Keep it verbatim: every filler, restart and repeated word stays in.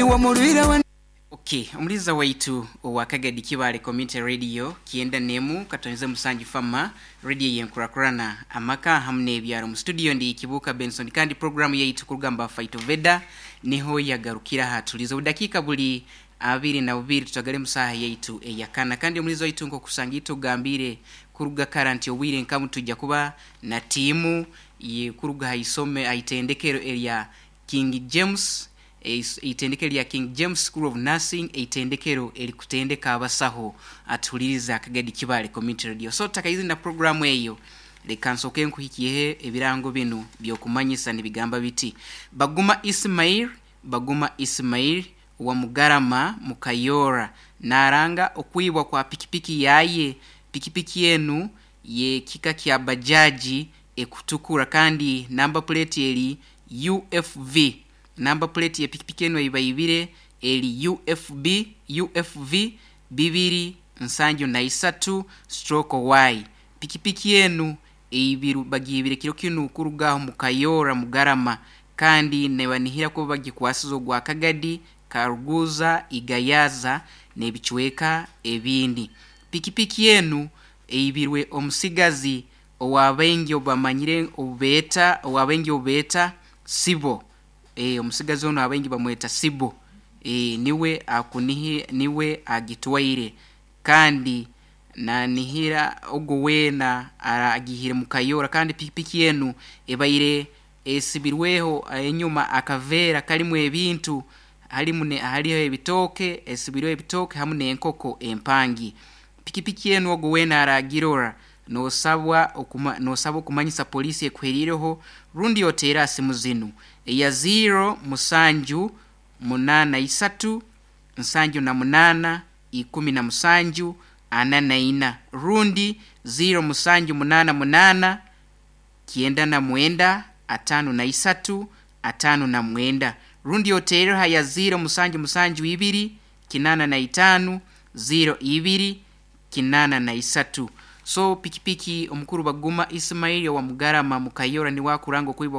Iwe murwire we. Okay, omuliza waitu owa Kagadi Kibale Community Radio kienda nemu katonze musanju fama radio yenkurakurana amaka hamwe n'ebyaro. Mu studio ndi Kibuka Benson, kandi programu yaitu kurugamba Fightoveda niho yagarukira hatuliza obudakika buli abiri na bubiri tutagale musaha yaitu eyakana. Kandi omulizo waitu nkokusanga tugambire kuruga karanti obwire nkamu tujja kuba na tiimu ye kuruga haisome aitendekero erya King James, eitendekero lya King James School of Nursing, eitendekero erikutendeka abasaho atuhuliriza Kagadi Kibale Community Radio. So takaizi na programu eyo, leka nsooke nkuhikiyeho ebirango binu byokumanyisa nibigamba biti: Baguma Ismail, Baguma Ismail wa Mugarama Mukayora naranga okwibwa kwa pikipiki yaye. Pikipiki yenu ye kika kya bajaji ekutukura, kandi namba plate eri U F V. Namba plate ya pikipiki enu eibaibire eri U F B U F V bibiri nsanju na isatu stroke Y. Pikipiki enu eibiru bagibire kiro kinu kurugaho Mukayora Mugarama, kandi nebanihira kuba bagikwasiza ogwa Kagadi, Karuguza, Igayaza n'ebicweka ebindi. Pikipiki enu eibirwe omusigazi owabaingi obamanyire obubeeta owabaingi obubeeta Sibo. e, omusigazi ono abaingi bamweta Sibo. e, niwe akunihi niwe agitwaire, kandi nanihira ogwo weena agihire Mukayora. Kandi pikipiki enu ebaire esibirweho enyuma akaveera kalimu ebintu, halimu ne haliho ebitooke, esibirweho ebitooke hamu n'enkoko empangi. Pikipiki enu ogwo weena aragirora, nosabwa okuma, nosabwa okumanyisa polisi ekuherireho, rundi oteera simu zinu eya zero musanju munana isatu nsanju na munana ikumi na musanju ana na ina, rundi zero musanju munana munana kienda na mwenda atano na isatu atano na mwenda, rundi oteereho ya zero musanju musanju ibiri kinana na itano zero ibiri kinana na isatu. So pikipiki omukuru Baguma Ismaili wa Mugarama Mukayora niwakuranga okwibwa.